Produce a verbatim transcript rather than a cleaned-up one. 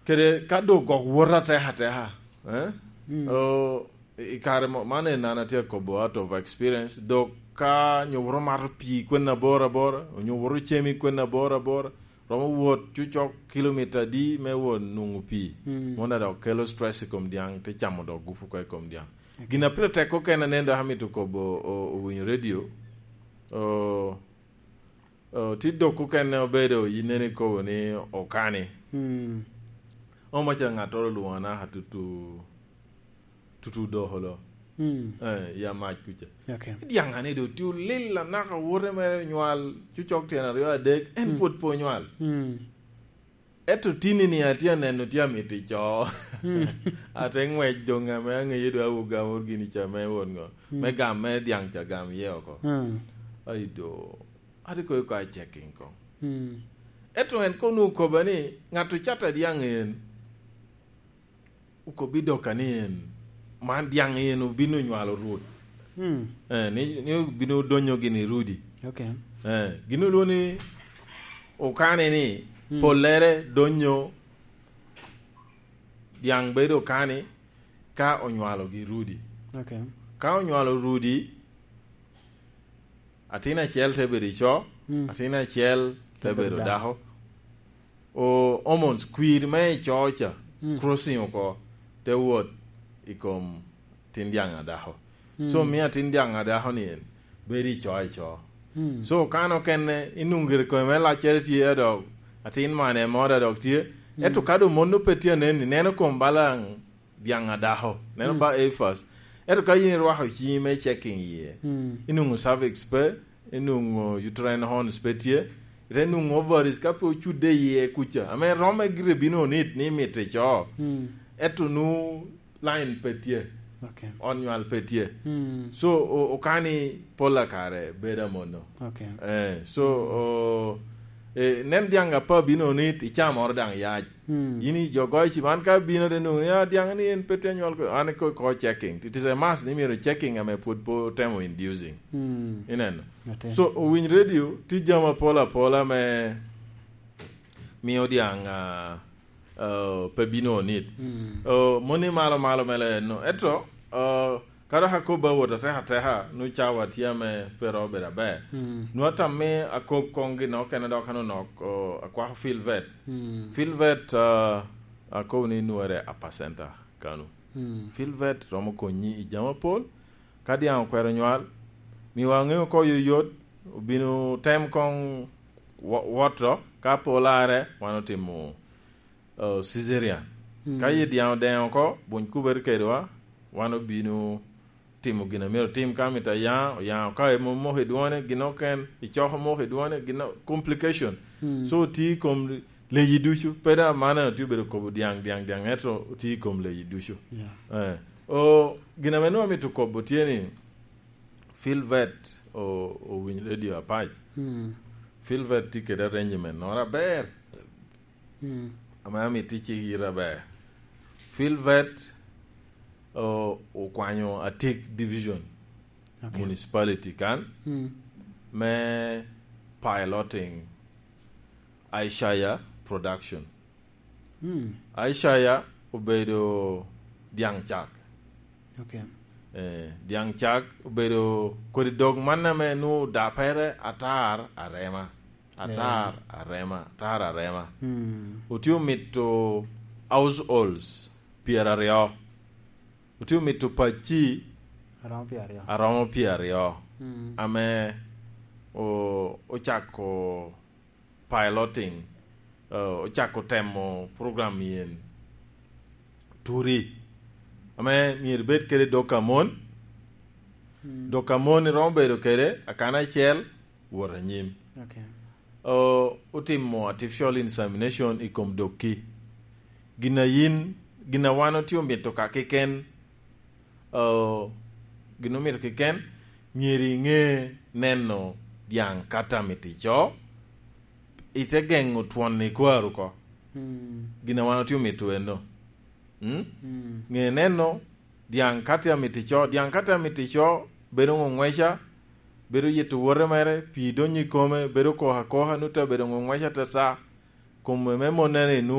Kede ka dok gok wot ateka ateka, eh? Mm. O, i, i kare mo, man en an atye akobo out of experience, dok ka nyo wot omato pii kwen abor abor, onyo wot ocemi kwen abor abor, romo wot cucok kilomita adi me wot nwoŋo pii. Mm. Mono dok kelo stress i kom dyaŋ, te camo dok gupu oko i kom dyaŋ. Okay. Gin a pire tek okene nen dok amito kobo o, owinyo radio, o, o, ti dok okene obedo yineni kobo ni okani. Mm. Omaca ŋattoro olwoŋo anaka tutu, tutu doko lo. Mm. Eh, ya mac kuca. Okay. Dyaŋ ane do ti olil anaka wote mere onywal, cucok tyen aryo adek, en Mm. pwod pe onywal. Mm. Ento tini ni atye aneno tye amito ico. Mm. Ate ŋwec doŋ ame aŋeye do awoga mor gini ca me wot ŋo. Mm. Me gam me dyaŋ ca gam iye oko. Mm. Ai do, ate koyo ka checking ko. Mm. Ento en kono okoba ni, ŋat ocato dyaŋ en, okobbi doka ni en, man dyaŋ en obino nywalo rwot. Mm. Eh, ni, ni obino donyo gini rudi. Okay. Eh, gin olwo ni okane ni, Mm. pollere donyo dyaŋ bedo okani ka onywalogi rudi. Okay. Ka onywalo rudi, atin acel te bedo ico, Mm. atin acel te Te bedo bedo dako. dako. O, hormones, kwir me ico ca, Mm. crossing oko, te wot i kom tin dyaŋ a dako. Mm. So, mio atin dyaŋ a dako ni en bedo ico ico. Mm. So, kan okene, inwoŋo gire kome me laccere tye, a dok atin mane mo da dok tye. Mm. Ento ka doŋ mon pe tye anen, ineno kom balaŋ dyaŋ a dako. Neno Mm. ba A first. Ento ka yin irwako ciŋi me checking iye, Mm. inwoŋo cervix pe, inwoŋo uterine horns pe tye, ite nwoŋo ovaries ka pe ocudde iye kuca. Ame romme gire bino onit ni mitte co. Mm. Ento nu line pe tye. Okay. Ot nywal pe tye. Mm. So, o-, okani pol a kare bedo amono. Okay. Eh, so, Mm. o, eh, nen dyaŋ apa bino onit, icamoro daŋ yac. Mm. Yin i jo goyo ci, man ka bino te nwoŋo ni, "Ah, dyaŋ ni en pe tye anywal ko," an ko, ko checking. It is a must ni myero checking ame pwod pe otemo inducing. Mm. Ineno? Ate. So, owiny radio, tye jami apol apola me mio dyaŋ, ah, ah, pe bino onit. Mm. Oh, moni malo malo mele no. Eto, ah, ka dok akobo awot ateka ateka, nu cawa tye ame pe ro bedo aber. Mm. Nu atam me akob koŋ gin okene dok ano nok, oh, akwako Filvet. Mm. Filvet, ah, akobo ni nwere Upper Center kanu. Mm. Filvet romo konyi i jami apol. Ka dyaŋ okwero nywal, miwa aŋeo oko yoyot, obino tem koŋ wo-, woto, ka pe olarre, wan otimo, eh, cesarean. Mm. Ka yi dyaŋ odeŋ oko, buny kubere kedwa, wan obino timo gin a myero otim. Ka mito ayaŋ, oyaŋ oko, ka mom moko i dwone, gin oken, icoko moko i dwone, gin o-, complication. Mm. So, oti i kom leyi ducu, pe daŋ man otye obedo kobo dyaŋ, dyaŋ, dyaŋ, ento otye i kom leyi ducu. Yeah. Eh. O, gin ame nwoŋo amito kobo tye ni, Filvet o-, owiny radio apac. Mm. Filvet tye kede arrangement noro aber. Mm. Ame amito icik yite aber. Filvet o-, okwanyo Atik Division, okay, Municipality kan, mm, me piloting Aishaya Production. Mm. Aishaya obedo dyaŋ cak. Okay. Eh, dyaŋ cak obedo kodi dog man ame nu dapere atar arema. Atar, eh, arema, atar arema. Mm. Otye omito households pyeraryo. Otye omito pacci aromo pyeraryo. Aromo pyeraryo. Mm. Ame o-, ocako piloting, eh, ocako temo program yen turi, ame myero ibed kede dok amon. Mm. Dok amon iromo bedo kede akana acel, wot anyim. Okay. O-, otimo artificial insemination i kom dokki. Gin a yin, gin a wan otye omito ka keken, o, gin omito keken, myero iŋe neno dyaŋ kata mito ico, ite geŋo twon i kwaro oko. Mm. Gin a wan otye omito eno. Mm? Mm. Ŋe neno dyaŋ kati amito ico, dyaŋ kati amito ico, bedo ŋoŋweca, bedo yito wote mere, pii donyo i kome, bedo koko akoka, nut abedo ŋoŋweca atata. Kome me monnere nu